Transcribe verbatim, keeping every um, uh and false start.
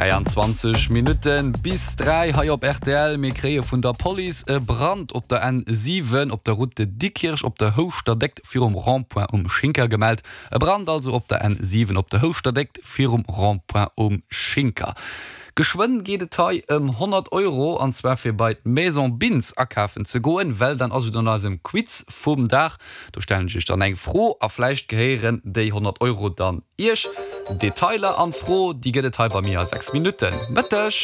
Dräianzwanzeg Minutten bis dräi hei op rtl. Mir kréie vun der Police e Brand op der N siwen op der Route de Diekirch op der Houschterdéckt virum Rond-point um Schinker gemellt. E Brand also op der N siwen op der Houschterdéckt virum Rond-point um Schinker. Geschwënn geet et hei ëm honnert Euro, an zwar fir bei d'Maison Bintz akafen ze goen, well dann ass et un eisem Quiz vum Dag. Do stellen ech iech dann eng Fro a vläicht gehéieren déi honnert Euro dann iech. Detailer an d'Fro, déi gëtt et hei bei mir a sechs Minutten. Mëtteg!